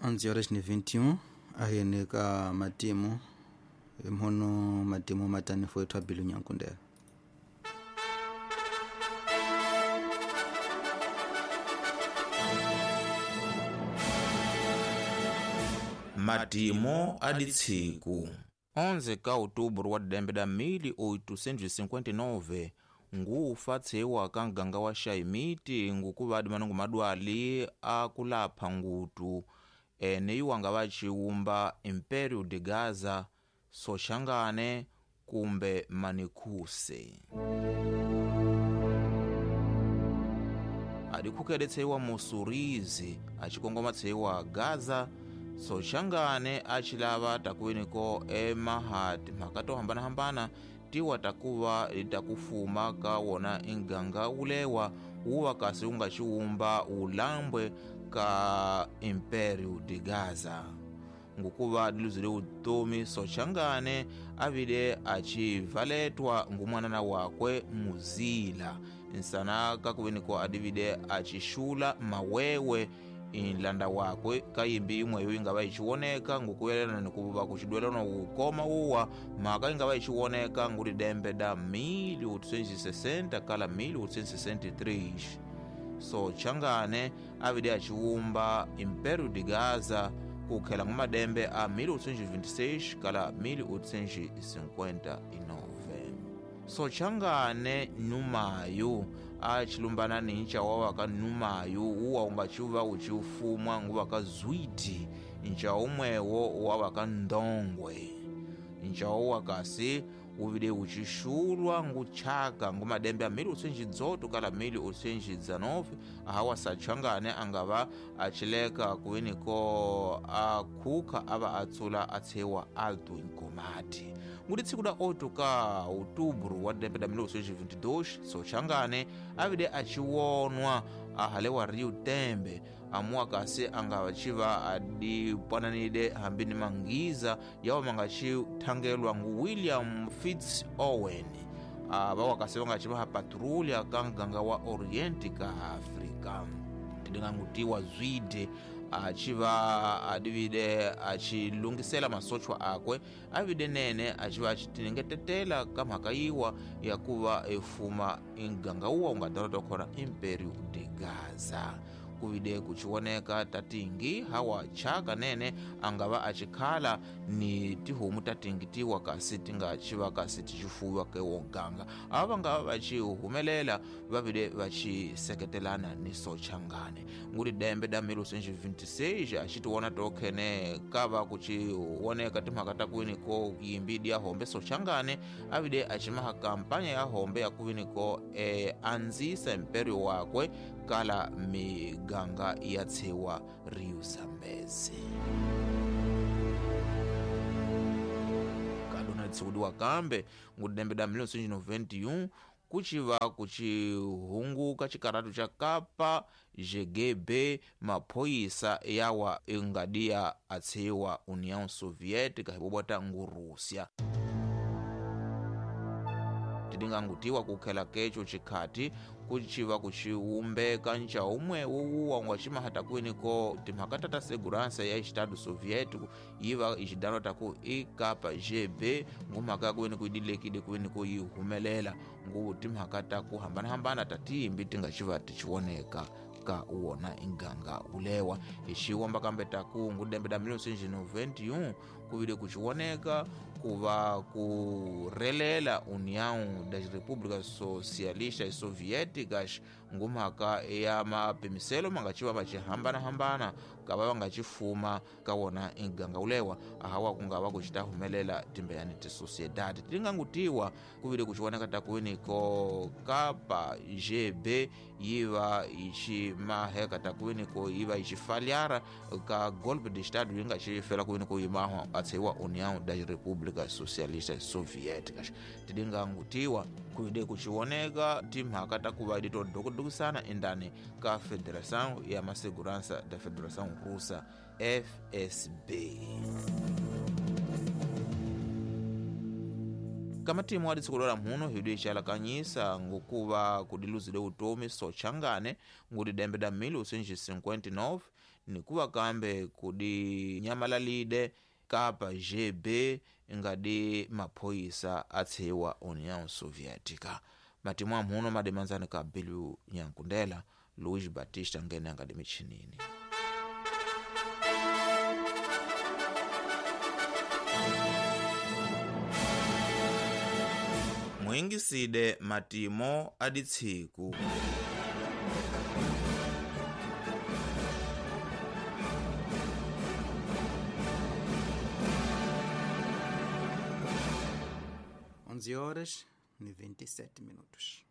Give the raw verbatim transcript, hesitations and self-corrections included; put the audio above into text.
onze horas ni vinte e um ahene ka matimu mhono matimu matani fo bilu nyankundela. Matimo aditsiku onze ka outubro wa dembe da mil oitocentos e cinquenta e nove ngufa tsewa ka nganga wa xaimiti ngukuvadi manungu madwali akulapha ngutu ene iwanga va ciwumba Império de Gaza, Soxangane kumbe Manikhuse. Adikhukele tseiwa Mussurizi acikongoma tseiwa Gaza, Soxangane acilava takuweniko emahati mhaka to hambanahambana tiwa takuva takufuma ka wona inganga ulewa wuva kasi unga ciwumba ulambwe ka Império de Gaza. Ngukuva diluzile utomi Soxangane avile acivaletwa ngumwanana wakwe Muzila nsana kakuweniko adivide acixula mawewe inlanda wakwe kayimbi imweyo ingava ichiwoneka ngukuyelana nikuva kuchidwelana ukoma uwa mhaka ingava ichiwoneka ngulidembe da mil oitocentos e sessenta kala mil oitocentos e sessenta e três. Soxangane avide achiwumba Império de Gaza kukhela ngumadembe a mil oitocentos e vinte e seis kala mil oitocentos e cinquenta e nove. Soxangane numayu achilumbana nincha wawaka numayu uwa ungachiuva uchiufumwa nguwaka zwiti ncha umwewo wawaka ndongwe ncha uwakasi uvile uchixulwa nguchaka ngumadembe a mil oitocentos e dezoito kala mil oitocentos e dezenove ahawa Soxangane angava achileka kuweniko akhukha ava atsula atshewa Alto Nkomati. Ngudi tsiku da oito ka outubro wa dembe da mil oitocentos e vinte e dois Soxangane avile achiwonwa ahalewa Rio Tembe amuwa kasi angava chiva adipananile hambi ni mangiza yawa mangachithangelwa ngu William Fitz Owen ava wakasi vangachivaha patrulha ka nganga wa Oriente ka Afrika. Tidingangutiwa zwide achiva adivide achilungisela masochwa akwe avide nene achiva achitinengetetela ka mhaka yiwa ya kuva efuma inganga uwa ungadala khona Império de Gaza. Kuvide kuchiwoneka tatingi hawa chaka nene angava achikhala ni tihomu tatingi tiwa kasi tingachiva kasi tichifuwa ke woganga ava vangava vachihumelela vavile vachiseketelana ni Soxangane. Nguli dembe da mil oitocentos e vinte e seis achitiwona tokhene kava kuchiwoneka timhaka takuwiniko yimbidi ya hombe Soxangane avile achimaha kampanya ya hombe ya kuwiniko e, anzisa imperio wakwe kala miganga ya tsewa Rio Zambezi. Kadona tsiudiwa kambe ngudembe da mil oitocentos e noventa e um kuchiva kuchihunguka chikaratu cha Kapa G G B maphoyisa yawa ingadia atsewa União Soviética hibobota nguRússia. Tidingangutiwa kukhela kecho chikhati kuchiva kuchiumbeka ncha umwe wuwa ungachimahata kuweniko timhaka tata segurança ya Estado Soviético yiva ichidalo taku ikapa G B ngumhaka kuweniko idilekile kuweniko yihumelela ngu timhaka taku hambanahambana tatimbi tingachiva tichiwoneka ka uwona inganga ulewa ixiwamba kambe taku ngudembe da mil oitocentos e noventa e um kuvile kuchiwoneka kuva kurelela União das Repúblicas Socialistas Soviéticas ngumhaka ya mapimiselo mangachiva vachihambanahambana kava vangachifuma ka wona inganga ulewa ahawa kungava kuchitahumelela timbeyani tisociedade. Tilingangutiwa kuvile kuchiwoneka takuweniko Kapa G B yiva ichi maheka takuweniko yiva ichifalhara ka golpe de estado yingachifela kuweniko yimahwa atseiwa União das Repúblicas Socialistas Soviéticas. Tidingangutiwa kuide kuchiwoneka timhaka takuva ditodokudukisana endani ka Federação ya Masegurança da Federação Russa F S B. Kamatimu adi tsiku lola mhuno hidu icalakanyisa ngokuva kudiluzile utomi sochangane ngudi dembe da mil oitocentos e cinquenta e nove nikuva kambe kudi nyamalalide kapa G B ngadi maphoyisa atshiwa União Soviética. Matimu amhuno madimanzani ka Bilu Nyankundela Luiz Batista ngene angadi michinini. Mwingiside matimo aditsiku. onze horas e vinte e sete minutos.